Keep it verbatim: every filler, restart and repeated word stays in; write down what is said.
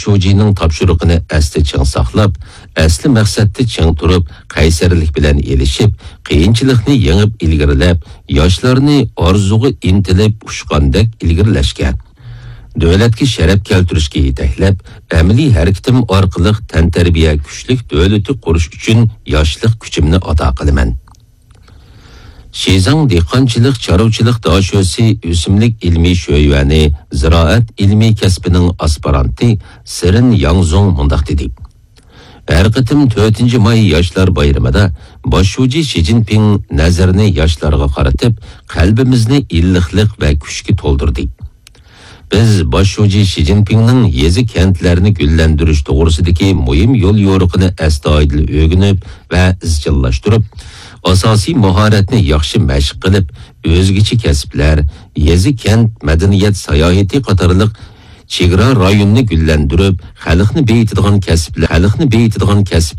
شۇجىنىڭ تاپشۇرۇقىنى ئەستە چىڭ ساقلاپ، ئەسلى مەقسەتتە چىڭ تۇرۇپ، قەيسەرلىك بىلەن ئېلىشىپ، قىيىنچىلىقنى يېڭىپ ئىلگىرىلەپ، ياشلارنى ئارزۇغا ئىنتىلىپ ئۇچقاندەك ئىلگىرىلەشكە، دۆلەتكە شەرەپ كەلتۈرۈشكە يېتەكلەپ، ئەمەلىي ھەرىكىتىم ئارقىلىق تەنتەربىيە كۈچلۈك دۆلىتى قۇرۇش ئۈچۈن ياشلىق كۈچۈمنى ئاتا قىلىمەن. شىزاڭ دېھقانچىلىق چارۋىچىلىق داشۆسى ئۆسۈملۈك ئىلمىي شۆيۈەنى زىرائەت ئىلمىي كەسپىنىڭ ئاسپىرانتى سېرېن ياڭزۇڭ مۇنداق دېدى: ھەر قېتىم تۆتىنچى ماي ياشلار بايرىمىدا باش شۇجى شى جىنپىڭ نەزىرىنى ياشلارغا قارىتىپ، قەلبىمىزنى ئىللىقلىق ۋە كۈچكە تولدۇردى. بىز باش شۇجى شى جىنپىڭنىڭ يېزا-كەنتلەرنى گۈللەندۈرۈش توغرىسىدىكى مۇھىم يول يورۇقىنى ئەستايىدىل ئۆگىنىپ ۋە ئىزچىللاشتۇرۇپ، ئاساسىي ماھارەتنى ياخشى مەشىق قىلىپ، ئۆزگىچە كەسىپلەر، يېزا-كەنت مەدەنىيەت ساياھىتى قاتارلىق چېگرا رايوننى گۈللەندۈرۈپ، خەلقنى بېيىتىدىغان كەسىپلەر، خەلقنى بېيىتىدىغان كەسىپلەر،